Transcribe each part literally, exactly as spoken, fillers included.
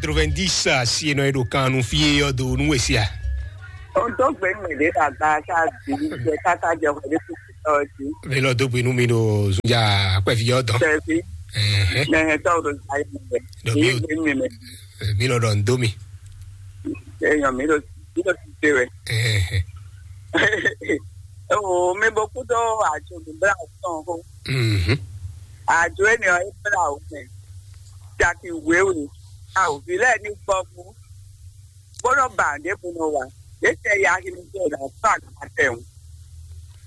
Quatre-vingt-dix asi e nɔ e ɖo kan nu fí e ɔ́ do nú we sia. Ohun tó gbé mɛ ɖé ɖo agba ká di jɛ káká jɛ xɔ ɖé kúkú tɔ jí. Ve lɔ dó gbe nú mi ɖo zunja akpɛvi ɔ́ dɔn. Tɛvi. Ɛhɛn. Nɛhɛ tɔ ɖo zayé mɛ. Ɖɔ mi Yé o- gbé mi mɛ. Mi lɔ ɖɔ n dó mi. Eyɔn mi ɖo mi ɖo ti te wɛ. Ɛhɛn. O mi bo kú dó ajo mi bla tɔn ko. Mhm. Ajo e ne ɔ e bla o mɛ. Jaki wewe. A o vi lɛ ni gbɔ fún. Bó nɔ ba ɖěbǔ nɔ wa, yě tɛ ya axi nú tɔn ɖo afá nǔ ma tɛ́wún.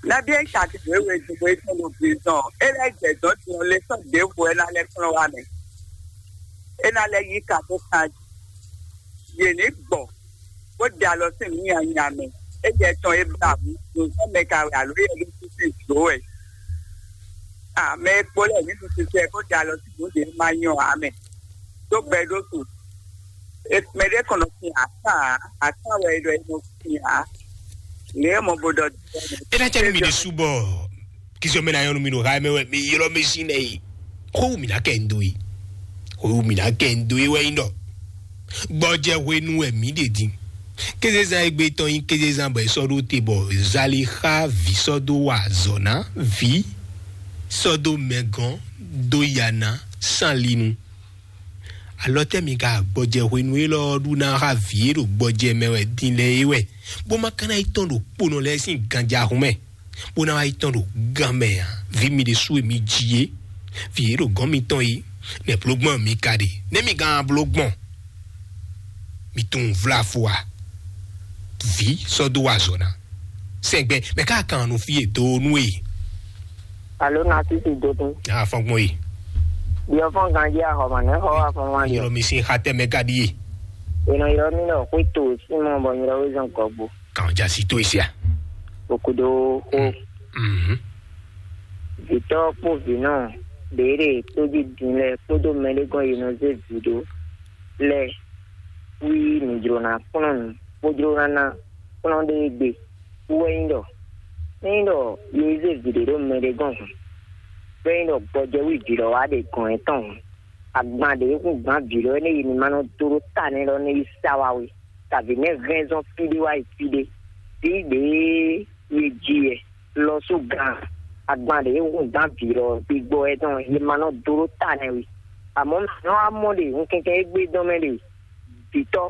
Nabí é ka ti wěwe dugbo é tɔn ɖo glezɔn, é lɛ́ jɛ dɔ̌n din ɔ́, lě sɔ́ ɖěvo é ná lɛ́ kplɔ́n wá mɛ. É ná lɛ́ yí ka bó kan jí. Yě ní gbɔ, bó ɖe alɔ sín nǔ nyanya mɛ. É jɛ tɔn é bla wǔ, nǔzɔ́ mɛ ka wɛ alo é yɛ ɖésú sín jǒ wɛ. Ame e kpo lɛ́ɛ ní ɖu sisɛ bó ɖe alɔ sín nǔ ɖě ma nyɔ ǎ mɛ. Dó gbɛ ɖó su. Mɛ ɖé kɔn nɔ sin atán ǎ, atán wɛ é ɖɔ é nɔ sin ǎ. Lě e mɔ bo ɖɔ. É ná cɛ nú mi ɖésú bɔ kisɔ mɛ ná nyɔ́ nú mi ɖo ha mɛ wɛ mi ylɔ́ mi sín nɛ yi. Xó wú mi ná kɛ ń dó yi. Xó wú mi ná kɛ ń dó yi wɛ nyí ɖɔ. Gbɔjɛ hwenu wɛ mǐ ɖe din. Kézezán e gbé tɔn nyí kézezán bɔ è sɔ́ ɖó te bɔ Zalixa ví sɔ́ dó wa azɔ̌ ná ví sɔ́ dó mɛgɔn dó ya ná sánlinu. Alɔ tɛ́ mi ka gbɔjɛ hwenu élɔ́ ɔ́ ɖu ná xá vǐ e ɖo gbɔjɛ mɛ wɛ din lɛ́ɛ é wɛ, bó ma ka ná yi tɔn ɖo kponɔ lɛ́ɛ sín ganjahun mɛ, bó ná wá yi tɔn ɖo gan mɛ ǎ. Vǐ mi ɖésú e mi ji é, vǐ e ɖo gɔ̌n mitɔn é, nɛ̌ bló gbɔn mi ka ɖe? Nɛ̌ mi gán bló gbɔn? Mi tunwun vlá fó a? Vǐ sɔ́ dó wa azɔ̌ ná. Sɛgbɛ mɛ ká kan nu fí e dó nú e. Alo na sisi dodun. A fɔn gbɔn yi. Diɔ fɔn ganji ahɔ ma ne xɔ wa fɔn wa diɔ. Yɔrɔ mi sin xa tɛ mɛ ka di ye. Eno yɔrɔ mi lɔ xwe to simɔ bɔ nyɔrɔ we zɔn gɔgbo. Kan ja si to isia. Okudo ko. Mhm. Vitɔ kpo vinɔ ɖeɖe to di din lɛ kpodo mɛ ɖe gɔn yi nɔ ze vi ɖo lɛ. Wi mi jlo na kplɔn nu, bó jló ná ná kplɔ́n ɖé gbe. Wú wɛ nyí ɖɔ, ényí ɖɔ yě zé vǐ ɖé ɖo mɛ ɖé gɔ́n hǔn, bɔ é nyí ɖɔ gbɔjɛwí vǐ lɔ wá ɖe gɔ̌n yětɔn hǔn, agban ɖě e hun gbǎn vǐ lɔ énɛ́ yi ní ma nɔ dó ɖó ta nɛ́ lɔ nɛ́ yi sa wá wé, kabǐ nɛ́ hɛn zɔn fí ɖé wá yi fí ɖé. Vǐ ɖě e yě ji wɛ lɔ sú gan, agban ɖě e hun gbǎn vǐ lɔ gbígbɔ wɛ tɔn, yě ma nɔ dó ɖó ta nɛ́ wé. Amɔ̌, nɔ wá mɔ ɖe, un kɛnkan égbé dɔn mɛ ɖe, vǐtɔ́,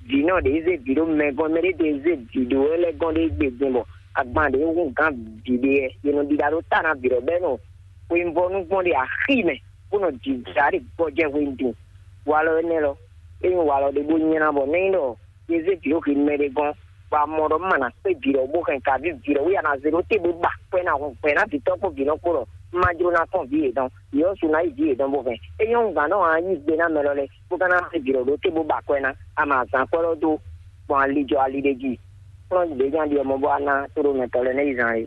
vǐnɔ ɖě zé vǐ ɖó mɛ gɔ́n, mɛ ɖé ɖě zé vǐ ɖó wɛ lɛ́ gɔ́n ɖé gbé din bɔ agban ɖě hun gǎn vǐ ɖé wɛ, è nɔ ɖiɖa ɖó ta ná vǐ ɖɔ bɔ é nɔ xweyǐvɔ́ nú gbɔn ɖe axi mɛ, bó nɔ jǐjǎ ɖe gbɔjɛ́ hwenu din. Walɔ énɛ́ lɔ, é nyí walɔ ɖé bó nylá bɔ nɛ́ nyí ɖɔ yě zé vǐ ɖó hwenu mɛ ɖé gɔ́n, bɔ a mɔ ɖɔ má ná kpé vǐ ɖɔ bó hɛn kǎví vǐ ɖɔ wí a nǎ zé ɖó te bó ba kwɛ́ ná hun gbɛ̌ ná vǐtɔ́ kpó vǐnɔ kpó ɖɔ má jló ná kpɔ́n vǐ yětɔn, yě ɔ́ su ná yí vǐ yětɔn bó hɛn. É nyɔ́ gǎn ɖɔ a yí gbe ná mɛ lɔ lɛ́ɛ bó ka ná zé vǐ ɖɔ ɖó te bó ba kwɛ́ ná, a ma zǎn kwɛ́ lɔ dó gbɔn ali jɔ ali ɖé jí. Kplɔ́n ɖě nya ɖi ɔmɔ bó a ná tó ɖó mɛtɔ́ lɛ́ɛ nɛ́ yi zán é.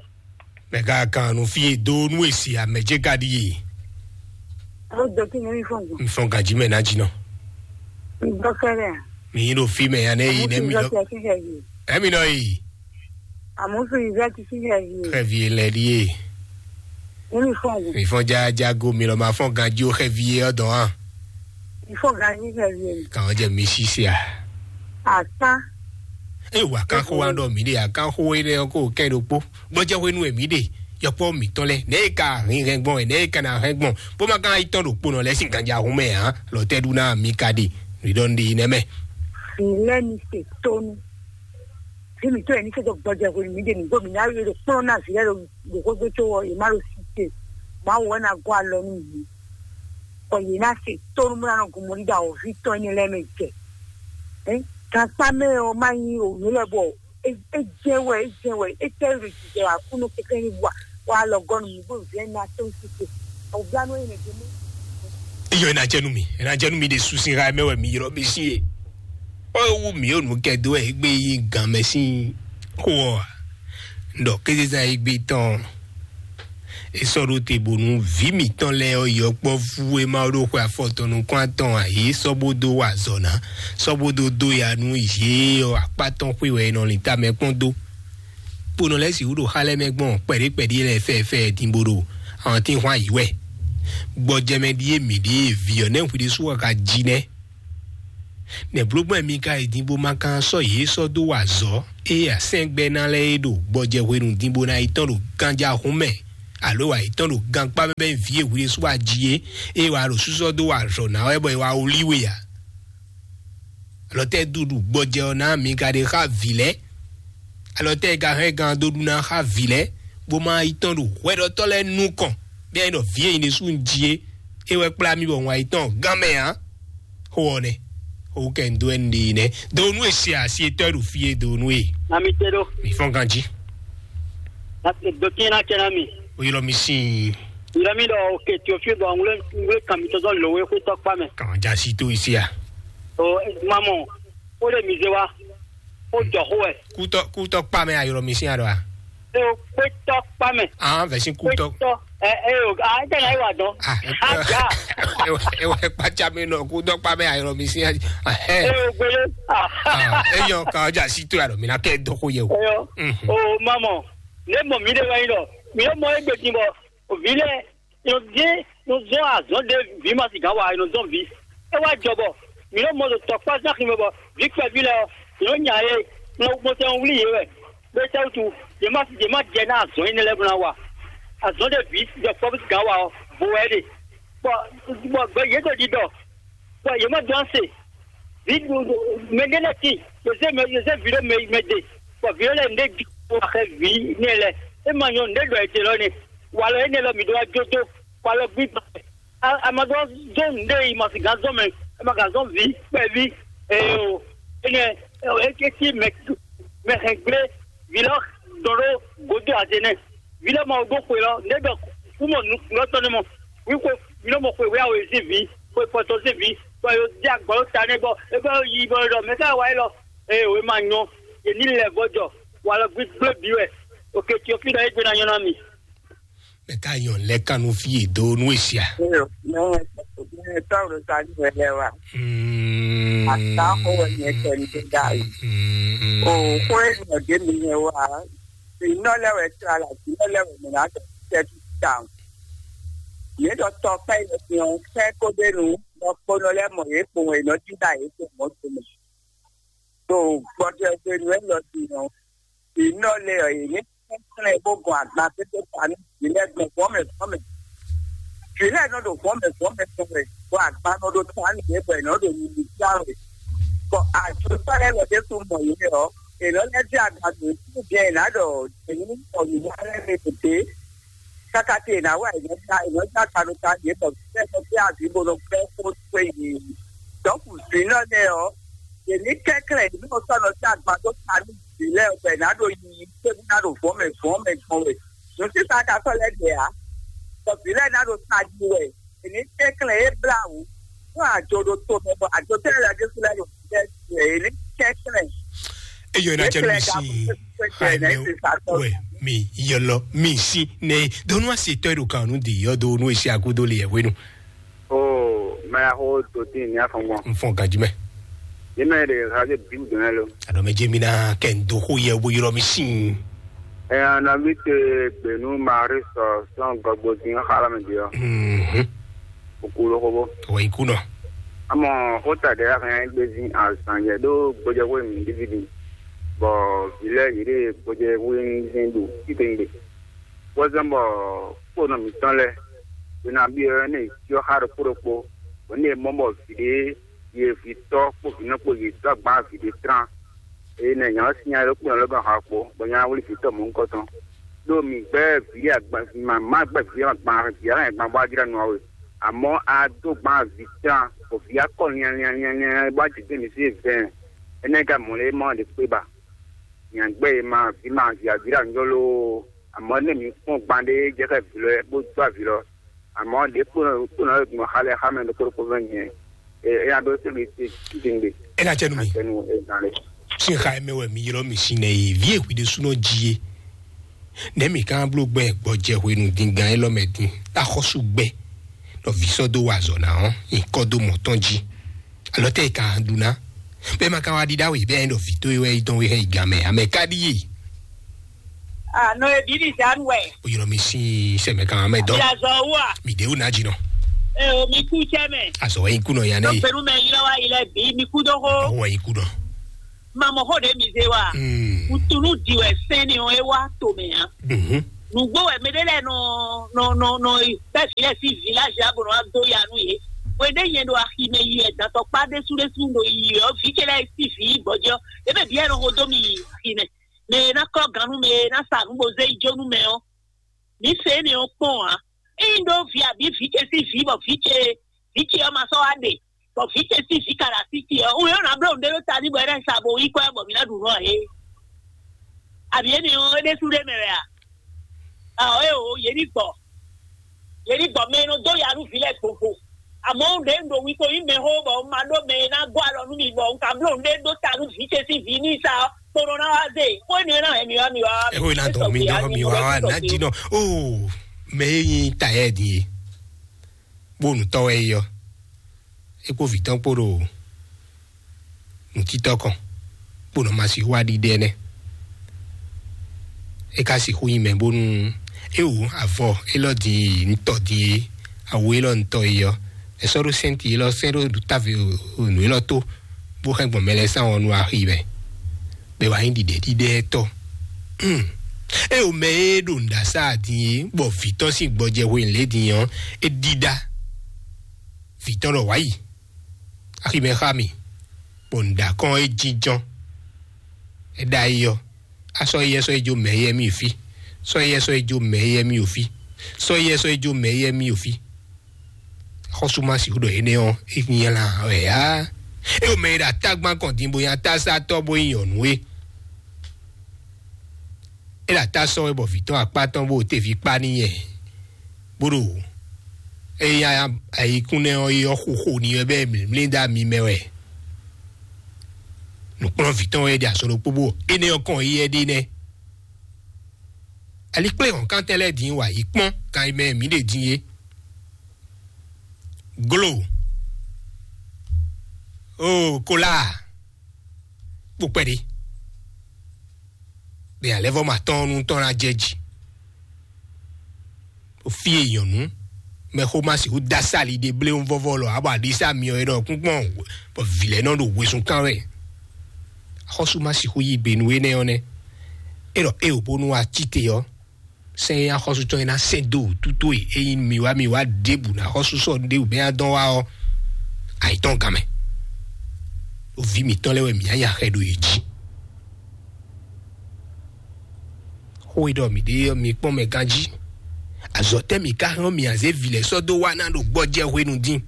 Mɛ ka kan nu fí e dó nú èsì amɛ jẹ́ ka ɖi ye. Ó dɔ kí ni fún un. N fɔn gàjí mɛ ná jí nɔ. Ìgbọ́kẹ̀lẹ̀. Mi yín ɖo fí mɛ ya nɛ yi nɛ mi lɔ. Ẹ̀mí nɔ yi. Àmọ́ fi ìfẹ́ ti sí ẹ̀yìn. Xɛvi lɛ ɖi ye. Ní mi fún un. Mi fɔn ja jago mi lɔ ma fɔn gàjí o xɛvi ye ɔdɔn hàn. Ìfọ̀gànyí ẹ̀yìn. Kàn jẹ́ mi ṣiṣẹ́ à. Àká. Ẹ wà kán kó wá dọ̀ mí dé àkán kó wé dé kó kẹ́ ló kpó. Gbọ́jẹ́ wé nú èmi dé. Yɔkpɔ mǐtɔn lɛ nɛ e ka hɛn hɛn gbɔn nɛ e ka na hɛn gbɔn bó ma ka yi tɔn ɖo kponɔ lɛ sín ganja hun mɛ hàn lɔ tɛ ɖu ná mi ka ɖe ridɔn ɖe yi nɛ mɛ. Fi lɛ mi se tónú. Fi mi tó yɛ ní sɛjɔ gbɔjɛ hwenu mi ɖe nǔgbó mi ná yɔ ɖo kplɔ́n ná vi lɛ ɖo ɖo xógbé tó wɔ yě má ɖo si te. Mawu wɛ ná gɔ́ alɔ nú yě. Bɔ yě ná se tónú bó ná nɔ gun mɔ ɖíɖá wɔ vi tɔn énɛ́ lɛ́ɛ mɛ jɛ. Ɛ gankpá mɛ ɔ má nyí òwú lɛ bɔ é jɛ wɛ é jɛ wɛ é tɛ ɖo jijɛ wɛ akúnú kɛkɛ ní wa wa lɔ gɔnu mi bó vɛ na tó sise. Ɔ bla nɔ yɛ nɛ jɛ mɛ. Iyɔ ina jɛ nu mi ina jɛ nu mi de susi ha mɛ wɛ mi yrɔ mi si ye. Ɔ wu mi o nu kɛ do wɛ egbe yi gan mɛ si xo ɔ. Ndɔ kézezan egbe tɔn. E sɔ ɖo te bonu vi mǐtɔn lɛ́ɛ ɔ́ yi ɔkpɔ́vú e ma ɖo xwe afɔtɔn nukún atɔn ǎ, yě sɔ́ bó dó wa azɔ̌ ná, sɔ́ bó dó dó ya nú yě ɔ́ akpá tɔn xwé wɛ è nɔ lin tamɛ kpɔ́n dó. Kponɔ lɛ́ɛ sixú ɖo xá lɛ́ɛ mɛ gbɔn kpɛɖé kpɛɖé lɛ́ɛ fɛ́ɛ fɛ́ɛ din bó ɖo awɔntín hwan yǐ wɛ. Gbɔjɛmɛ ɖíe mǐ ɖíe vǐ ɔ́ nɛ́ hwi ɖésú wɛ ka jí nɛ́. Nɛ̌ bló gbɔn mi ka yi din bó ma ka sɔ́ yě sɔ́ dó wa azɔ̌, ée asɛ́ngbɛ́ ná lɛ́ɛ é ɖo gbɔjɛ hwenu din bó ná yi tɔ́n ɖo ganjahun mɛ, alo wa yi tɔ́n ɖo gankpá mɛ bɛ́ vǐ e hwi ɖésú wa jí é, ée wa ɖo súsɔ́ dó wa azɔ̌ ná wɛ bɔ è wa wlí we ǎ? Alɔ tɛ́ dúɖu gbɔjɛ ɔ́ ná mi ka ɖe xá vǐ lɛ́ɛ? Alɔ tɛ́ e ka hɛn gan dó ɖu ná xá vǐ lɛ́ɛ, bó ma yi tɔ́n ɖo hwɛɖɔtɔ́ lɛ́ɛ nukɔn, bia nyí ɖɔ vǐ e nyí ɖésú un jí é, é wɛ kplá mì bɔ un wá yi tɔ́n gán mɛ ǎ? Xó ɔ́ nɛ́, xó kɛ un dó ɛ́ un ɖe nɛ́. Do nú e se asi e tɔ́ ɖo fí e do nú e. Na mi te ɖo. Mi fɔ́n ganjí. Na te do kí na kɛ na mi. O ylɔ mi sín. Ylɔ mi ɖɔ o ke tí o fi bɔ ŋwlé ŋwlé kan mi tɔzɔ lò wé xwé tɔkpa mɛ. Kàn já sí tó isi a. O mamɔ, o le mi ze wa, o jɔ xó wɛ. Kútɔ kútɔ kpa mɛ a ylɔ mi sín a ɖɔ a. E o kpé tɔkpa mɛ. Ah, vɛsi kútɔ. Kpé tɔ, ɛ ɛ o, a ɛ tɛ na yi wa dɔn. Ah, A ja. Ewa ewa kpatsa mi nɔ kútɔ kpa mɛ a ylɔ mi sín a. E o gbélé. Ah, eyɔ kan ja sí tó a ɖɔ mi na kɛ dɔ xó yɛ o. Eyɔ. Mhm. O mamɔ, ne mɔ mi de wɛ yi lɔ, mi yɔ mɔ egbe din bɔ, o vi lɛ, yɔ dé, yɔ zɔn azɔn de vi ma si gan wa, yɔ zɔn vi. E wa jɔ bɔ, mi yɔ mɔ do tɔkpa zan xi mɛ bɔ, vi kpɛ vi lɛ, yɔ nya ye, yɔ mo tɛ wuli ye wɛ. Be tɛ wutu, ye ma, ye ma jɛ na azɔn yi ne lɛ bla wa. Azɔn de vi, jɔ kpɔ bi gan wa, o, bo wɛ de. Bɔ, bɔ gbɛ ye do di dɔ. Bɔ yě mɔ dɔn se. Vi mɛ ɖé lɛ́ɛ tíin, yě zé mɛ, yě zé vǐ ɖó mɛ, mɛ ɖe, bɔ vǐ ɖé lɛ́ɛ nǔɖé jí kó wá xɛ vǐ nɛ́ lɛ́ɛ. É ma nyɔ́ nǔɖé ɖɔ ètè lɔ nɛ. Walɔ énɛ́ lɔ mǐ ɖó wá jó dó, walɔ gbígbà. A ma ɖó zɔ́n nǔɖé yi ma sì gán zɔ́n mɛ, a ma gán zɔ́n vǐ kpɛví. Ee o, énɛ́ é cí mɛ, mɛ hɛn gblé, vǐ lɔ dɔn ɖó gǒdo azé nɛ́. Vǐ lɔ ma ɖó xwe lɔ, nǔɖé ɖɔ kú mɔ nukúnlɔ tɔn nɛ́ mɔ. Wíxwe vǐ lɔ mɔ xwe wěyáwó e sín vǐ, xwe fɔtɔn sín vǐ, bɔ yě dí agbɔ̌ ta nɛ́ bɔ é bɔ yi bɔ ɖɔ mɛ ká wá élɔ́. Eye wě ma nyɔ́, yě ní lɛ vɔ́ jɔ, walɔ gbígbé bǐ wɛ. Oke Tiofída é gbe ná nyɔ́ ná mi. Mɛ ka nyɔ lɛ kan nú fí e dó nú e sia. Mɛ tɔ́ ɖo sa ní wɛ lɛ wa. Ata xó wɛ nyɛ tɛ ní dá yi. O xó e nɔ dé mi nyɛ wa. Sinɔ lɛ wɛ tra la, sinɔ lɛ wɛ mɛ na tɛ tu ta. Yě ɖɔ tɔ kpɛ yɛ fi ɔn fɛ kó ɖe nu, bɔ kponɔ lɛ mɔ yě kpowun e nɔ jí ɖa yě kpo mɔ to mɛ. To gbɔdɔ hwenu élɔ́ din ɔ́, vǐ nɔ lɛ ɔ́, yě ní kɛnklɛ́n bó gɔn agban pépé ta nú vǐ lɛ́ɛ gbɔn fɔ́mɛ fɔ́mɛ. Vǐ lɛ́ɛ nɔ ɖo fɔ́mɛ fɔ́mɛ tɔn wɛ, bɔ agban nɔ ɖo ta nú yě bɔ è nɔ ɖo nyiyi já wɛ. Bɔ ajotɔ́ lɛ́ɛ lɔ ɖésú mɔ yě ɔ́, è nɔ lɛ́ dí agban ɖo fí bia è nǎ ɖɔ è ní mɔ nǔ wa lɛ́ɛ mɛ ɖě. Káká tí è nǎ wa è nɔ já, è nɔ já ta nú ta yě bɔ fí lɛ́ɛ nɔ fí azǐ bó nɔ gbɛ́ xó xwé yě. Dɔ̌nkù vǐ nɔ lɛ́ɛ ɔ́, yě ní kɛnklɛ́n yě ní nɔ sɔ́ nɔ sí agban dó ta nú vǐ lɛ́ɛ ɔ́, bɔ è nǎ ɖo yiyi, cébi ná ɖo vɔ̌ mɛ vɔ̌ mɛ gbɔn wɛ. Nǔsísá ka sɔ́ lɛ́ ɖe ǎ, bɔ vǐ lɛ́ɛ ná ɖo tají wɛ. È ní kɛnklɛ́n é blá wǔ, nú àjò ɖo to mɛ, bɔ àjò tɛ́ lɛ́ɛ ɖésú lɛ́ɛ ɖo fí lɛ́ɛ ɖe, è ní kɛnklɛ́n. Eyɔ na cɛ mi si. Wɛ mi yɔlɔ mi si ne donu ase tɔ ɖo kan nu de yɔ do nu esi agudo le yɛ wenu. O maya xo to tin ní afɔngbɔn. N fɔn gajimɛ. Yémɛ de xaze bi dɔn lo. Adɔmɛ jɛ mi na kɛ n do xo yɛ wo yɔrɔ mi si. Ɛ ana bi te gbenu mari sɔ sɔn gbɔgbɔ din xala mi di ɔ. Mhm. Okulo xobo. Wɔ ikunɔ. Amɔ xota ɖe axɛ gbezi azan yɛ ɖo gbɔjɛxwe mi dividi. Bɔ vi lɛ yi ɖe gbɔjɛxwe mi ɖo titengbe. Wɔ zan bɔ kponɔ mitɔn lɛ. Bena bi ɔ ne yɔ xa ɖokpo ɖokpo. Bɔ ne mɔ bɔ vi ɖe ye vi tɔ kpo vi nɔ kpo ye tɔ agban vi ɖe tran. Eye nɛ nya ɔ́ sín nya ɖokpó nɔ lɛ́ gɔ́ xɔ kpo, bɔ nya wlí vǐ tɔn mɔ̌hunkɔtɔn. Ɖó mǐ gbɛ́ vǐ agban, mǐ ma gbɛ́ vǐ agban, vǐ alɔ agban bó wá jlá nú we. Amɔ̌ a dó gban vǐ tán, bɔ vǐ akɔ lianlianlianlian bó wá jǐ dó mǐ sí vɛn. Énɛ́ ka mɔ̌ lé mɔ ɖě kpé ba? Nya gbɛ́ e ma vǐ ma vǐ aví ɖo anjɔ loo. Amɔ̌ nɛ mǐ kpɔ́n gban ɖé jɛ xá vǐ lɔ bó dó avǐ lɔ. Àmọ́ ɖě kpónɔ kpónɔ e gbɔn xa lɛ xá mɛ ɖokpó ɖokpó vɛ́ nyɛ. Ɛ ɛ nya ɖó sɛ́ mi ti ti ŋgbe. Ena cɛ nu mi. Atɛnu ezan le. Sin xa mɛ wɛ mi ylɔ mi sin nɛ yi vi e hwi ɖe sunɔ ji ye. Nɛ mi kan blo gbɛ gbɔ jɛ hwenu din gan elɔ mɛ din. Axɔsu gbɛ. Nɔ vi sɔ do wa zɔ na ɔ. Nkɔ do mɔ tɔn ji. Alɔ tɛ kan du na. Bɛ ma kan wa di da we bɛ nɔ vi to ye wɛ idɔn we hɛ igan mɛ. Amɛ ka di ye. Ah, no e bibi zan wɛ. O ylɔ mi sin sɛmɛ kan amɛ dɔn. Yazɔ wa. Mi de o na ji nɔ. Eo, mi kú cɛ mɛ. Azɔ wɛ nyi kú nɔ yan ne. Dɔkpɛnu mɛ yi lɔ wa yi lɛ bi, mi kú dó xó. Ɔwɔ nyi kú nɔ. Mamɔ xó ɖe mi zé wa. Hmm. Kutunu di wɛ sɛn ni ɔ e wa to mɛ ya. Mhm. Nugbo wɛ mɛ ɖe lɛ nɔ nɔ nɔ nɔ bɛ vi lɛ si village ya bɔ nɔ wa do ya nu ye. Wɛ ɖe nyɛ ɖo axi mɛ yi wɛ dantɔ kpa ɖesu ɖesu ɖo yi wɛ vi ce lɛ si vi gbɔjɔ. Ebe bi yɛ nɔ xo do mi yi axi mɛ. Mɛ na kɔ ganu mɛ na sa nu bo zé yi jo nu mɛ ɔ. Mi se ne ɔ kpɔn a. Eyi ɖo vi abi vi ce si vi bɔ vi ce vi ce ɔ́ ma sɔ́ wá ɖe, bɔ vǐ ce sín vǐ ka ɖo así ce ɔ́, un yɔ́n ná bló nǔɖé ɖó ta ní bɔ é ná sa bo yí kɔ ɛ bɔ mǐ ná ɖu nǔ ǎ é. Abǐ énɛ́ ɔ́, é ɖésú ɖé mɛ wɛ a? Ao é o, yě ní gbɔ. Yě ní gbɔ mɛ e nɔ dó ya nú vǐ lɛ́ɛ gbogbo. Amɔ̌ un ɖě un ɖo wi ko nyí mɛxó bɔ un ma ɖó mɛ e ná gɔ́ alɔ nú mi bɔ un ka bló nǔɖé ɖó ta nú vǐ ce sín vǐ ní sa ɔ́, kponɔ ná wá zé. Xó énɛ́ ɔ́ ná hɛn mi wá mi wá. Ɛ xó ná dɔn mi ná mi wá wá ná jí nɔ. Oo, mɛ e nyí tayɛ din e. Bó nǔtɔ́ wɛ é ɔ́, é kpó vǐ tɔn kpó ɖo nǔtítɔ́ kɔn, bó nɔ ma sixú wá ɖiɖe nɛ́. É ka sixú nyí mɛ bónú é wǔ avɔ élɔ́ din e nǔtɔ́ din e awu élɔ́ nǔtɔ́ e ɔ́, è sɔ́ ɖó sɛ́nti élɔ́ sɛ́ ɖó távo nǔ élɔ́ tó, bó hɛn gbɔn mɛ lɛ́ɛ sán ɔ́ nú axi mɛ. Bɔ é wá nyí ɖiɖɛɖiɖɛtɔ́. Hmm. É o mɛ e ɖo nǔɖasá din é, bɔ vǐ tɔn sín gbɔjɛ hwenu lě din ɔ́, é ɖíɖá. Vǐ tɔn ɖɔ wǎ yi, aximɛ xá mì, bɔ nǔɖakɔn é jínjɔ́n. É ɖ'ayǐ ɔ́, á sɔ́ éyɛ́ sɔ́ é jó mɛ éyɛ́ mì fí, sɔ́ éyɛ́ sɔ́ é jó mɛ éyɛ́ mì fí, sɔ́ éyɛ́ sɔ́ é jó mɛ éyɛ́ mì fí. Xɔ́sú ma sixú ɖɔ énɛ́ ɔ́, é nylá wɛ ǎ. É o mɛ e ɖo atágbán kɔn din bo nyí atásátɔ́ bó nyí nyɔ̌nu é. É ɖo atá sɔ́ wɛ bɔ vǐ tɔn akpá tɔn bó teví kpá n'i nyɛ, bó ɖo éya ayikúnlɛ ɔ́ yi ɔ́ xo xo n'i wɛ bɛ́ mlǐmlí dó ami mɛ wɛ. Nǔkplɔ́nvǐ tɔn wɛ é ɖe azɔn ɖokpó bó énɛ́ ɔ́ kɔn yi wɛ ɖe nɛ́. Alikpléhɔ̌nkántɛn lɛ́ɛ din wa yi kpɔ́n kan e mɛ mǐ ɖe din é. Glo, oo, kolá, kpó kpɛɖé. Ɖe alɛ́vɔ́ ma tɔn nu tɔn ná jɛ jí. O fí e nyɔ̌nu mɛxó ma sixú dá sali ɖe bléwún vɔ́vɔ́ lɔ abɔ aɖisá myɔ é ɖɔ kúnkpɔ́n, bɔ vǐ lɛ́ɛ nɔ ɖo wezun kán wɛ. Axɔ́sú ma sixú yí gbe nú énɛ́ ɔ́ nɛ́. É ɖɔ é o bónú wá cí te ɔ́, sɛn e axɔ́sú tɔn e ná sɛn dó wǔtu towe e nyí mi wá mi wá ɖěbǔ ná xɔ́sú sɔ́ ɖěbǔ bɛ́ ná dɔn wá ɔ́, ayǐtɔn gán mɛ. Ɖo vǐ mǐtɔn lɛ́ɛ wɛ mǐ nya xɛ ɖo yě jí. Xó e ɖɔ mǐ ɖe ɔ́, mi kpɔ́n mɛ ganjí. Azɔ̌ tɛ́ mǐ ka hɛn ɔ́, mǐ azé vǐ lɛ́ɛ sɔ́ dó wá ná ɖo gbɔjɛ́ hwenu dín,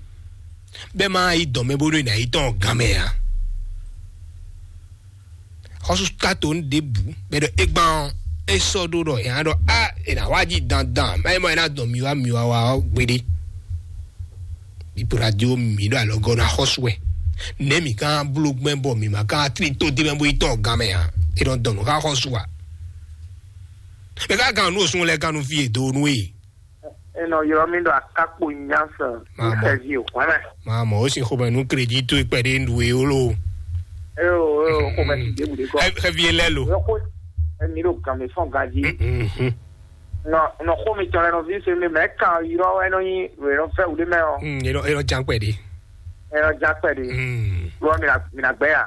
bɛ́ má yi dɔ̌n mɛ bónú è nǎ yi tɔn gán mɛ ǎ. Xɔ́sú ka to nú ɖěbǔ bɔ é ɖɔ é gbán ɔ́, é sɔ́ ɖó ɖɔ è nǎ ɖɔ á è nǎ wá jí dandan má nyí mɔ è nǎ dɔn mi wá mi wá wá ɔ́ gbeɖé. Bípo radio mǐ ɖo alɔgɔ́ ná xɔ́sú wɛ. Nɛ̌ mǐ ka bló gbɛ́ bɔ mǐ ma ka tlí tó d'é mɛ bó yi tɔn gán mɛ ǎ? É nɔ dɔn nǔ xá xɔ́sú ǎ. Mɛ ka gán nú òsún lɛ́ɛ gán nú fí e do nú e. Enɔ ylɔ́ mì ɖɔ akákpo nyáfɛ ní xɛvi o hwɛmɛ. Máa mɔ ó sin xomɛ nú kredito kpɛɖé nɖu e ó lo. Eo eo xomɛ si ɖěbǔ ɖé kɔ. Xɛvi e lɛ lo. Yɔkó, emi ɖo gànmɛ fɔn ganjí. Nɔ nɔ xó mi tɔn lɛ nɔ vi se mi mɛ kan yrɔ wɛ nɔ nyi wɛ nɔ fɛ wuli mɛ ɔ. Enɔ enɔ jan kpɛɖé. Enɔ jan kpɛɖé. Lɔ mi na mi na gbɛ ya.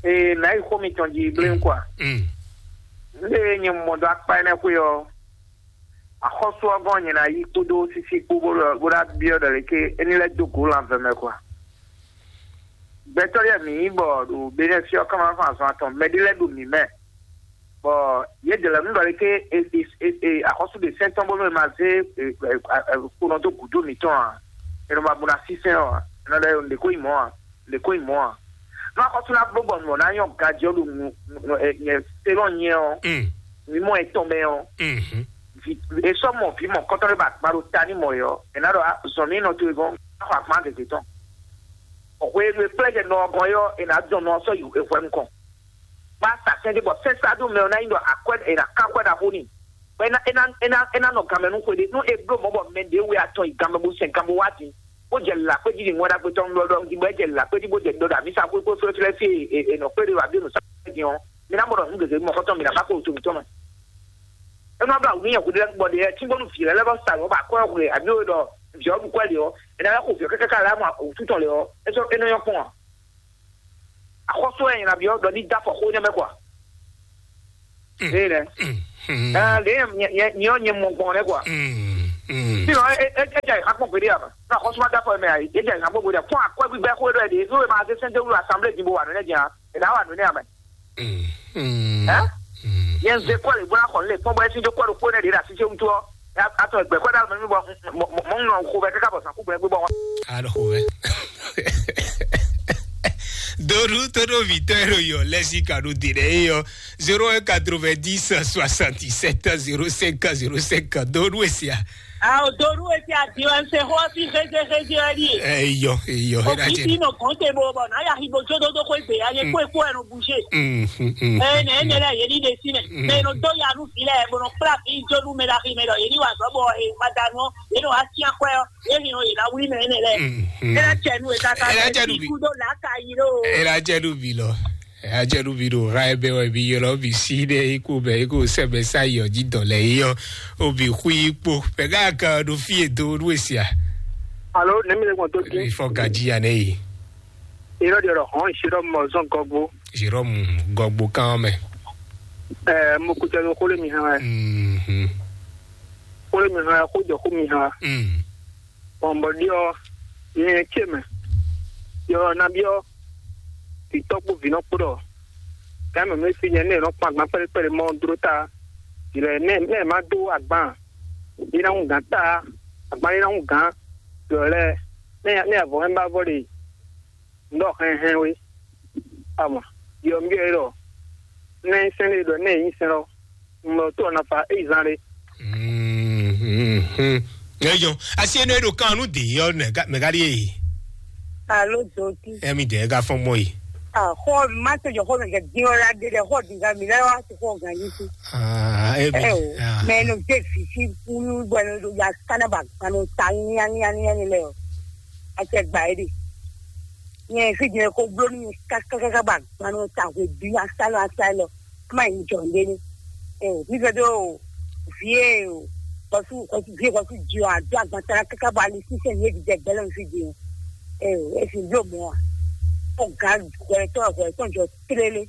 Ee mɛ yi xó mi tɔn ji bléun kɔ. N de nyɛ mɔ dɔ akpa ɛnɛ xwe ɔ. Axɔ́sú ɔ́ gɔ́n nyɛ ná yi kpódó sísí kpó bó ɖɔ bó ná byɔ́ ɖɔ lě ké é ní lɛ́ dó gǒ lanvɛ mɛ kɔ. Gbɛtɔ́ lɛ́ɛ mǐ nyí bɔ ɖo Benɛ́si ɔ́ ká má fɔ́n azɔn atɔn mɛ ɖé lɛ́ɛ ɖo mǐ mɛ. Bɔ yě dě lɛ́ɛ nú ɖɔ lě ké e e e e axɔ́sú ɖe sɛ́n tɔn bónú è ma zé e e e kponɔ dó gǔdo mǐtɔn ǎ. È nɔ ma bo ná sísɛ́n ɔ́ ǎ. È nɔ ɖɔ nǔɖé kó nyí mɔ̌ ǎ. Lě ko nyí mɔ̌ ǎ. Nú axɔ́sú ná bló bɔ nǔ ɔ́ ná nyɔ́ ganjí ɔ́ ɖo nǔ nyɛ se lɔn nyɛ ɔ́, mǐ mɔ etɔn mɛ ɔ́, vǐ è sɔ́ mɔ vǐ mɔ̌kɔtɔn ɖé ba gba ɖo ta ní mɔ yɔ́, è nǎ ɖɔ zɔn mǐ nɔ towe gɔ́n xɔ akpán gěgé tɔn. Hwenu e kplɛ́ jɛ nɔ ɔ́ gɔ́n é ɔ́, è nǎ dɔn nɔ ɔ́ sɔ́ yi hwɛ nukɔn. Bá sa sɛ́n ɖé bɔ sɛ́n sá dó mɛ ɔ́ ná nyí ɖɔ akwɛ́ è nǎ ká akwɛ́ ɖaxó n'i. Bɔ é ná é ná é ná é ná nɔ ganmɛ nú xwe ɖé. Nú è bló mɔ̌ bɔ mɛ ɖě we atɔn yi ganmɛ bó sɛn gan bó wá din, bó jɛ lǎkpéjí ɖi ŋwɛ́ ɖagbe tɔn ɖɔ ɖɔ din, bɔ é jɛ lǎkpéjí bó jɛ ɖɔ ɖo amǐsa xwé xwé flɛ́flɛ́ fí e è nɔ kplé ɖe ɖo abǐ nǔ sa din ɔ́, mi ná mɔ ɖɔ nǔ gěgé mɔxɔtɔn mi ná má kó to mǐtɔn mɛ. É nɔ blá wǔ nú nyɛ hweɖé lɛ́ɛ bɔ ɖe tíngbɔnú vǐ lɛ́ɛ lɛ́ vɔ sa lɔ̌ bɔ akwɛ́ xwe abǐ we ɖɔ vǐ ɔ́ ɖu kwɛ́ lě ɔ́, è nǎ lɛ́ xo vǐ ɔ́ káká lɛ́ mɔ wǔtú tɔn lě ɔ́, é sɔ́ é nɔ nyɔ́ kpɔ́n a? Axɔ́sú wɛ nyɛ ná byɔ́ ɖɔ ní dó afɔ xó nɛ́ mɛ kɔ a? Ée nɛ́. Ɛɛ, lě nyɛ nyɛ nyɛ nyɛ mɔ gbɔn nɛ́ kɔ a? Sinɔ é é é jɛ ìxá kpɔn gbeɖé a? Nɔ axɔ́sú ma dó afɔ mɛ a? É jɛ ìxá kpɔn gbeɖé a? Fún akwɛ́ gbígbá xó é ɖɔ é ɖe é ma zé sɛ́n dó wú asanblée din bó wa nǔ nɛ́ din a? È nǎ wa nǔ nɛ́ a mɛ. Ɛ? Yɛn ze kɔ le bó ná xɔ lé kpɔ́n bɔ é sín dó kɔ ɖo kpó nɛ ɖě ɖo así ce wútu ɔ́. Atɔ gbɛ kɔ ɖe alɔ mɛ mi bɔ mɔ ŋlɔ xo bɛ káká bɔ sàn kú gbɛ gbé bɔ. Alɔ xo bɛ. Doɖu tóɖó vitɔ ero yɔ lɛsi kanu de ɖe eyɔ zéro un quatre-vingt-dix soixante-dix-sept zéro cinq zéro cinq. Doɖu esia. Ao doɖu esi adiwɛnse xɔ si xezexe zi wɛ ɖi. Eyɔ eyɔ. Òbí ti nɔ kàn te bo bɔ n'a ya xi bo jó dódó xó egbe ya nye kó ekó ɛnu bouger. Ɛ nɛ ɛnɛ lɛ yeli ɖe si mɛ mɛ nɔ dó ya nu fi lɛ bo nɔ kpla fi jó nu mɛ la xi mɛ lɔ yeli wa zɔ bɔ e ma da nu yeli wa si akwɛ ɔ yeli nɔ yela wuli mɛ ɛnɛ lɛ. Ela cɛ nu e kaka Ela cɛ nu bi. Ku do la ka yi lo. Ela cɛ nu bi lɔ. Ajɛnubi ɖo ha ebe wɛ mi ylɔ mi si ɖe iko bɛ iko sɛbɛ sa yi ɔji dɔ lɛ yi ɔ obi xui kpo pɛgá kan ɖo fi edo ɖu esia. Alo ne mi le gbɔn tó dín. Ifɔ gaji ya ne yi. Irɔ de rɔ hɔn isirɔ mɔ zɔn gɔgbo. Isirɔ mu gɔgbo kan mɛ. Ɛ mo kutɛ lo kole mi hã wɛ. Mhm. Kole mi hã wɛ ko jɔ ko mi hã wɛ. Mm. Bɔn bɔ ɖiɔ nyɛ ce mɛ. Yɔ nabiɔ titɔ kpo vinɔ kpo ɖɔ. Kan mɛ mi fi nyɛ ne nɔ kpan gban kpɛɖe kpɛɖe mɔ dro ta. Yilɛ ne ne ma do agban. Yi na ŋu gan ta. Agban yi na ŋu gan. Yɔ lɛ ne ne avɔ hɛn ba vɔ de. N ɖɔ hɛnhɛn we. Ama yɔ mi yɔ ɖɔ. Ne sɛn le ɖɔ ne yi sɛn lɔ. N ɖɔ to na fa e zan le. Mhm. Eyɔ asi enu eɖo kan nu de yɔ mɛ gari ye. Alo doki. Emi de ga fɔn mɔ yi. Xɔ ma to jɔ xɔ mɛ kɛ din ɔ la de dɛ xɔ din ga mi la wa to xɔ gan yi si. Ah, emi. Ɛ o mɛ no de fi si kulu bɔ no do ya kana ba kanu ta nya nya nya ni lɛ o. A cɛ gba e de. Nyɛ fi jɛ ko blo ni ka ka ka ba kanu ta hwe bi a sa lɔ a sa lɔ. Má yi jɔ ndé ní. Ɛ o mi fɛ do vie o kɔsu kɔsu vie kɔsu jɔ a do agbantara kaka bɔ ali sísɛ yé didɛ gbɛlɛ fi di o. Ɛ o e fi blo mɔ a. Ɔ ga hwɛtɔ hwɛtɔ jɔ tlélé.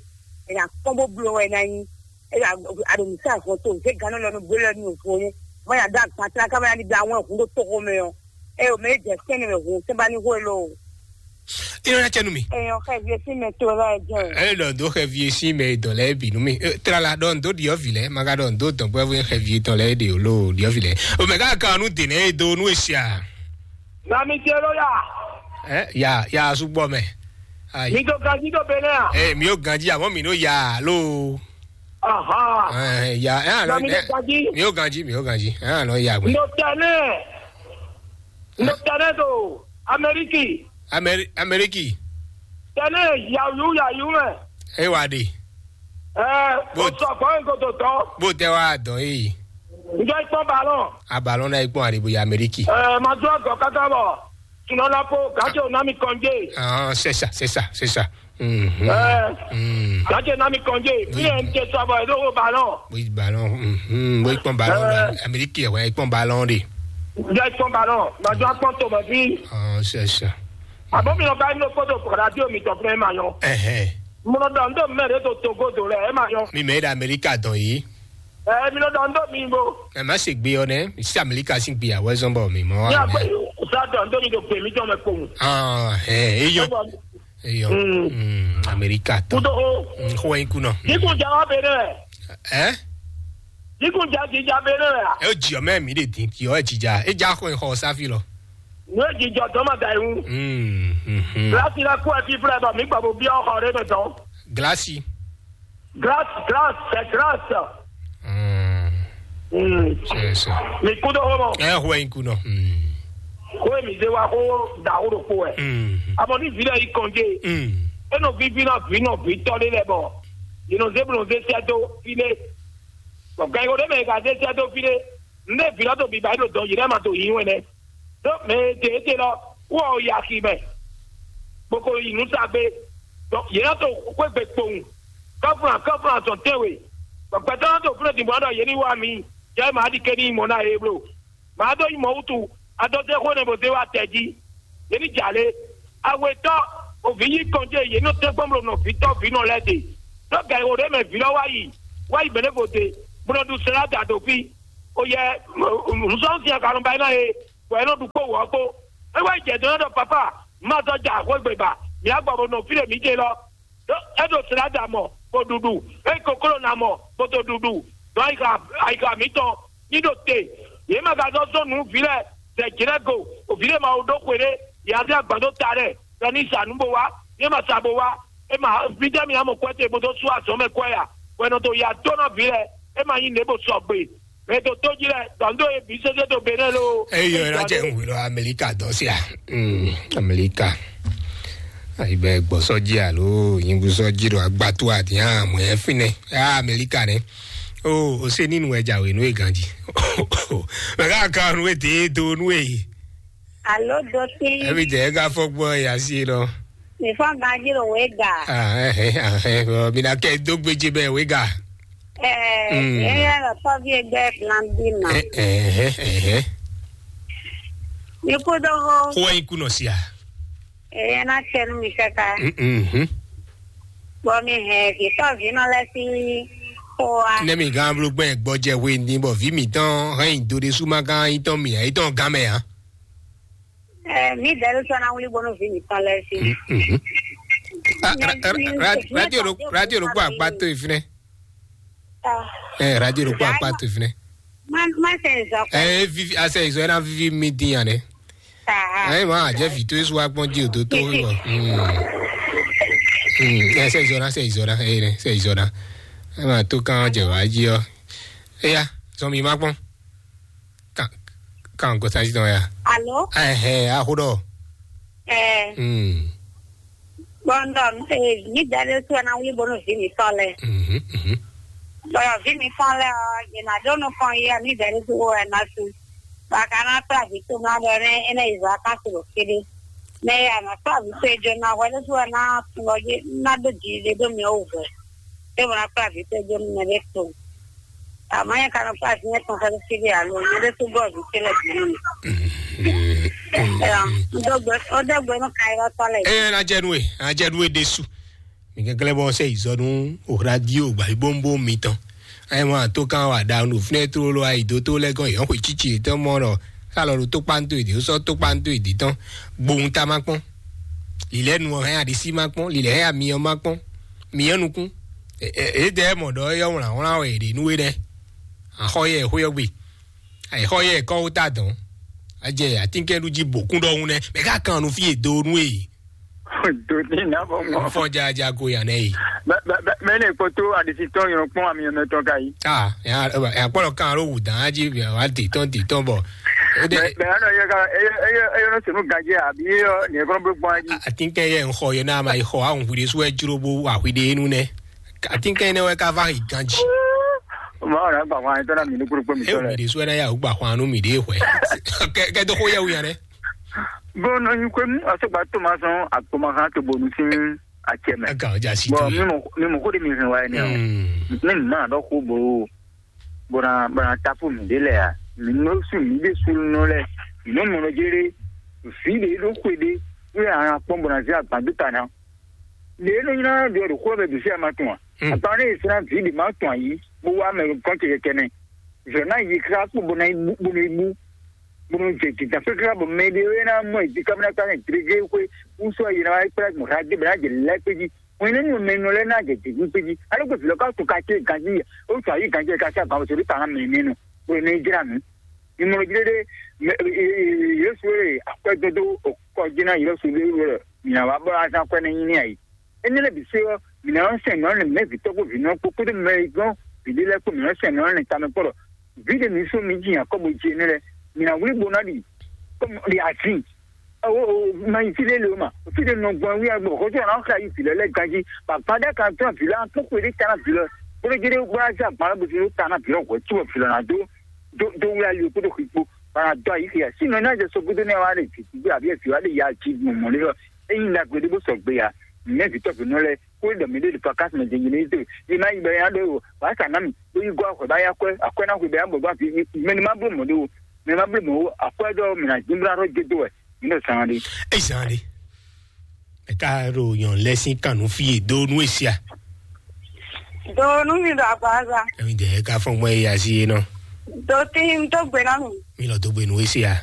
Ɛ na kɔn bó blo wɛ na nyi. Ɛ a a do mi sa hɔn to ze gánɔ lɔ nu blo lɔ nu vo ne. Má ya do agbantara kaba ya ni bi awɔn hun do togo mɛ o. Ɛ o mɛ jɛ sɛnɛ mɛ hun sɛnba ni hwe lo. Ino na cɛ nu mi. Ɛ o xɛ vie si mɛ to lɔ jɛ. Ɛ lɔ do xɛ vie si mɛ dɔ lɛ bi nu mi. Ɛ, tra la dɔ ndo diɔ vi lɛ, ma ka dɔ ndo dɔn bɔ xɛ vie dɔ lɛ de o lo diɔ vi lɛ. O mɛ ka kan nu de ne do nu esia. Na mi se lo ya. Ɛ ya ya sugbɔ mɛ. Ayi. Mi to ganji do bene a. Ɛ mi o ganji amɔ mi no ya lo. Aha. Ɛ ya ɛ Na mi to ganji. Mi o ganji mi o ganji. Ɛ lɔ ya gbɛ. No tɛnɛ. No tɛnɛ do Ameriki. Ameri Ameriki. Tɛnɛ yayu yayu mɛ. E wa de. Ɛ o sɔ gbɔn ko to tɔ. Bó tɛ wa dɔn yìí. Njɔ ikpɔn balɔn. Abalɔn náà ikpɔn àdìbò yà Amẹ́ríkì. Ɛ ma dún àgọ́ káká bọ̀. Tùnà la po gàtí ò ná mi kànjé. Ah, c'est ça, c'est ça, c'est ça. Mhm. Ɛ Mm. Gàtí ò ná mi kànjé. Bí ẹ̀ ń tẹ sọ bọ̀ ẹ̀ ló wo balɔn. Oui, ballon. Mhm. Oui, ikpɔn ballon la. Ɛ. Amérique, ouais, ikpɔn ballon de. Njɔ ikpɔn balɔn. Ma dún akpɔn tó mọ̀ sí. Ah, c'est ça. Àbọ̀ mi lọ ká inú kótó kọ̀dá tí omi tọ̀ fún ẹ máa yan. Ẹhẹn. Mo lọ dọ̀ ń dọ̀ mẹ́rin tó tó kótó rẹ̀ ẹ máa yan. Mi mɛ da Amérique dɔn yi. Ɛ mi lọ dọ̀ ń dọ̀ mi bó. Ɛ má ṣe gbé ọ nɛ, sí Amérique sì gbé àwọ̀ ẹ̀sán bọ̀ mi mọ́. Ní àgbẹ̀ sá dọ̀ ń dọ̀ mi tó pè mí jọ mẹ́ kpòmù. Ah, ẹ ẹ yọ. Ẹ yọ. Mm. Mm, Amérique tán. Kúndó o. Mm, kó wẹ́n kú náà. Kíkún jà wá bèrè rẹ̀. Ẹ? Kíkún jà kì í jà bèrè rẹ̀. Ẹ ó jì ọ mẹ́rin mi lè dín, jì ọ ẹ jìjà. Ẹ já kó ẹ xọ sáfì lọ. Ní èjì jọ tọ́ mọ̀ dà ìhun. Mm, mm, mm. Kíláàsì rẹ̀ kú ẹ fífúnra ẹ̀ bọ̀ mí gbà bó bí ọkọ̀ rẹ̀ mẹ́tọ́. Gíláàsì. Glass, glass, c'est glass. Mm. Mm. C'est ça. Mi kudo homo. Ẹ hwɛ in kunɔ. Mm. Ko mi ze wa ko da wo do ko ɛ. Mm. Amo ni vi lɛ yi kɔnje. Mm. E nɔ vi vi na vi nɔ vi tɔ de lɛ bɔ. Yi nɔ ze blo ze sɛ do fi le. Bɔ gan yi o de mɛ ka ze sɛ do fi le. Ne vi lɔ to bi ba yi do dɔn yi lɛ ma to yi wɛ nɛ. Ɖó mɛ e ɖe éɖe lɔ, wɔ o yi axi mɛ, bó ko yi nǔ sa gbé. Ɖɔ yě nɔ to xwé gbe kpowun, kɔ́flán kɔ́flán zɔn tɛ́nwe, bɔ gbɛtɔ́ nɔ to fló din bɔ ɖɔ yě ní wá mi, yɛ mǎ ɖi ké ní mɔ ná yě bló. Mǎ ɖó nyí mɔ wútu, Adɔtɛ́ xó nɛ bó zé wá tɛ jí. Yě ní jà lé. Awetɔ́, òvǐ yí kɔnjé, yě nɔ tɛ́ gbɔn bló nɔ vǐtɔ́ vǐ nɔ lɛ́ɛ ɖe. Ɖó gɛ̌ o ɖé mɛ vǐ lɔ wá yi, wá yi bɛ̌ nɛ vo de, bó nɔ ɖu sɛ́n ɖo adǎ ɖo fí. O yɛ, nǔsɔ́nú sin akanɔba e ná e, bɔ é nɔ ɖu kpó wǔ ɔ́ kpó. É wá yi jɛ dó nɔ ɖɔ papa, má zɔ ja xwé gbe ba, mǐ á gbɔ bó nɔ fí ɖe mǐ ɖe lɔ. Ɖó é ɖo sɛ́n ɖo adǎ mɔ, bó ɖuɖu, é kokló ná mɔ, bó to ɖuɖu. Ɖó ayixa ayixa mǐtɔn ní ɖo te. Yě ma ka zɔ́ zɔn nǔ vǐ lɛ́ɛ, zɛ jǐ lɛ́ɛ go, o vǐ lɛ́ɛ ma wo ɖó xwe ɖé, yě ná zé agban dó ta lɛ́ɛ, ɖɔ ní sa nǔ bó wá, ní é ma sa bó wá, é ma fítɛ́ mǐ ná mɔ kwɛ́ te bó dó sú azɔ̌ mɛ kwɛ́ a? Wɛ nɔ to ya dó ná vǐ lɛ́ɛ, é ma nyí nǔ e bó sɔgbe. Mɛ to tó jí lɛ́ɛ, dɔ̌n dó e bǐ sésé to Benɛ́ ló. Eyɔ ɛ ná jɛ nǔ lɔ Amɛlika dɔn sia. Mm, Amɛlika. Ayi bɛ gbɔ sɔji alo nyingu sɔji ɖo agbatu ati hã mɔ ɛ finɛ. Ah, Amɛlika nɛ. O o se nínú ɛ jàwé nú e ganji. Mɛ ká kan nú e dé do nú e. Alo doti. Ɛbi jɛ ɛ ká fɔ gbɔ ya si lɔ. Mi fɔ ganji ɖo wé ga. Ah, ɛ ɛ ɛ ɛ mi na kɛ dó gbéjé bɛ wé ga. Ɛɛ, Mm. Eye lɔ tɔvi egbe plan bi ma. Ɛ ɛ ɛ ɛ. Mi kú dó hó. Xó ɛ yín kú nɔ sia. Eye ná tse nú mi kɛkɛ. Mhm. Bɔ mi hɛn vǐtɔ́ vǐnɔ lɛ́ɛ sín xó wa. Ne mi gán bló gbɛn gbɔjɛ hwe ní bɔ vǐ mǐtɔn hɛn nyi do ɖésú ma gán yítɔn mì yítɔn gán mɛ ǎ. Ɛ, mi dɛrú sɔ na wuli bɔnu vǐ mǐtɔn lɛ́ɛ sín. Mhm. Ah, ra- ra- ra- radio ɖo radio ɖo kpɔ akpá tó ìfínɛ. Ah. Ɛ radio ɖo kpɔ akpá tó ìfínɛ. Ma ma sɛ zɔ kɔ. Ɛ vivi asɛ ìzɔ ɛ na vivi mi dín yan dɛ. Ah. Ɛ ma jɛ vi tó esu wa gbɔn di o tó tó wí bɔ. Ɛ sɛ ìzɔ na sɛ ìzɔ na ɛ sɛ ìzɔ na. Ɛ ma tó kán jɛ wá jí ɔ. Eya zɔn mi ma gbɔn. Kan kan kò sáyé tán ya. Alo. Ɛ hɛ aho dɔ. Ɛ. Hmm. Bɔndɔ mi dɛrɛ tu na wuli bɔnu vǐ mǐtɔn lɛ́ɛ. Mhm, mhm. Bɔyɔ vǐ mǐtɔn lɛ́ɛ ɔ́, yě ná ɖó nukɔn yi mi dɛrɛ tu wɛ ná su. Baka ná kplá vǐ tɔn ná ɖɔ nɛ é ná yi zɔ akási ɖo kéɖé. Mɛ ya ná kplá vǐ tɔn e jó ná hwɛ ɖésú wɛ ná tun lɔ jí ná ɖó jiɖiɖe ɖó mì ɔ́ wú hwɛ. É wɔ ná kplá vǐ tɔn e jó nú mɛ ɖé tɔn. Àmọ́ yẹn ka nɔ kplá vǐ yẹn tɔn xɛ́ síbi alo nyɛ ɖé tó gbɔ vǐ tɔn lɛ bǐ nú mi. Ɛ, ɔ́ dɔgbe ɔ́ dɔgbe nú kayɔ́tɔ́ lɛ. Eye na jɛ nue na jɛ nue ɖesu. Mi kɛkɛlɛ bɔ sɛ izɔ nú radio gba ibombo mitɔn. Ayi mɔ ato kan wa da nu fúnɛ tó lɔ ayi dó tó lɛ gɔn yɔn xwe tsitsi tɔn mɔ lɔ. Salɔ ɖo tó kpanto èdè sɔ tó kpanto èdè tɔn. Gbohun ta ma kpɔn. Lilɛ nu hɛn adisi ma kpɔn, lilɛ hɛn amiyɔ ma kpɔn. Miyɔ nukun. Ede mɔ ɖɔ yɔ wlan wlan wɛ ɖe nú we nɛ. Axɔ yɛ xó yɔ gbe. Axɔ yɛ kɔ wo ta dɔn. Ajɛ atinkɛnu ji bokun ɖɔhun nɛ. Mɛ ka kan nu fi e do nu e. Dodi na bɔ mɔ. Fɔ jaja ko yan nɛ yi. Mɛ ne kpoto adisi tɔn yɔrɔ kpɔn ami yɔrɔ tɔn ka yi. Ah, ya ya kpɔlɔ kan ro wu dan aji wa di tɔn di tɔn bɔ. Mɛ mɛ anɔ yɛ ka eyɔ eyɔ eyɔ senu gajɛ abi yɔ ni ekɔnɔ bɛ gbɔn aji. Atinkɛ yɛ n xɔ yɛ n'a ma yi xɔ ahun hwi de su wɛ jro bo wa hwi de nu nɛ. Atinkɛ yɛ nɛ wɛ ka va yi ganji. Ma ɔna gba hwan tɔn na mi ni kúrú kpɔ mi tɔ lɛ. Hwi de su wɛ na ya gba hwan nu mi de hwɛ. Kɛ kɛ do xo yɛ wu yan dɛ. Bɔn nɔ nyi kwem asɔgba to ma sɔn akpɔmahan to bonu sin acɛ mɛ. Aga ɔjà si bɔn tó mi yìí. Mɔ mi mɔ ko de mi hɛn wa yɛ nɛ o. Mm. Ne mi ma dɔ ko bo bona bona tapu mi de lɛ ya mi nɔ su mi de su nɔ lɛ mi nɔ mɔ nɔ jere fi de do ko de. Wo ya hàn kpɔn bona se agban do ta na. Le nɔ nyina do do ko bɛ do se ama tun wa. Mm. Agban ne sina vi de ma tun ayi bo wa mɛ kɔn kɛkɛ kɛnɛ. Zɔ na yi kra kpo bona ibu bona ibu. Bó nɔ jɛ jǐjǎn xwéxwé bɔ mɛ ɖé é ná mɔ ìdí kámẹ́rá kpá ní drégré xwé wúsɔ yě ná wá kplá gbɔn xá dé bɔ ná jɛ lɛ́ kpé jí. Wọ́n ní nínú mɛ nɔ lɛ́ ná jɛ jǐ kpé jí. Aló gbé vǐlɔ ká to ka ké ganjí yɛ. Ó tún ayé ganjí yɛ ká sí àgbà wòsàn orí tàná mɛ nínú. Bó ní jrá nù. Ìmọ̀ràn jí dédé Yésu e akwɛ́ dódó kɔ jí ná Yésu lé wɛ mìnà wá bọ́ azán kwɛ́ ní nyí ní ayé. Énɛ́ lɛ́ɛ bǐ se ɔ́, mǐ ná nɔ́ sɛn nǔ ɔ́ nɛ́ mɛ̌ vǐ tɔ́gbó vǐnɔ kpó kpódó mɛ e gɔ́n vǐɖé lɛ́ɛ kpó mǐ nɔ́ sɛn nǔ ɔ́ nɛ́ tamɛ kpɔ́ ɖɔ vǐ ɖé mǐ sú mǐ ji Yakobo jí énɛ́ lɛ́ɛ, mǐ ná wlí bo ná ɖi kɔ́ ɖi azin. Awo ma yi fí ɖé le o ma, fí ɖé nɔ gbɔn wí agbɔ xɔjɔ ɔ́ ná xlá yi vǐ lɛ́ɛ lɛ́ɛ ganjí, bɔ agbadá kan tɔ́n vǐ lɛ́ɛ kpó xwe ɖé ta ná vǐ lɛ́ɛ, bó ɖé jé ɖé bó ná zé agban lɛ́ɛ bó zé ɖó ta ná vǐ lɛ́ɛ hwɛ̌ cóbɔ vǐ lɛ́ɛ ná dó dó dó wlá yi kpódó xwi kpó, bɔ ná dó ayǐ xia. Sínɔ ná jɛ sɔgbe dó nɛ́ wá ɖe vǐ gbé abǐ vǐ wá ɖe ya jí gbɔn mɔ̌ lé ɔ́, ényí ɖagbe ɖé bó sɔgbe ya, nɛ̌ vǐ tɔ́ vǐnɔ lɛ́ɛ kó ɖɔ mǐ ɖe ɖo pakásí mɛ jɛnjɛn ní dó yě má yi bɛ nya ɖó wǎ sa ná mì bó yi gɔ́ axɔ̌ bá yá akwɛ́ akwɛ́ ná xwe bɛ nya bɔ dó afi mɛ ní má bló mɔ̌ ɖé o. mɛ ma blí mɔ̌ ó, akwɛ́ ɖɔ mǐ ná jínblá ɖó jé dó wɛ, mǐ ɖo zan ɖé. É zan ɖé. Ɛ ka ɖo nyɔ̌nu lɛ́ɛ sín kan nú fí e dó nú e sia. Do nú mi ɖo agbaza. Ɛmi dɛ ɛ ka fɔn gbɔn e ya si e nɔ. Do tí n tó gbe ná mi. Mi lɔ dó gbe nú e sia.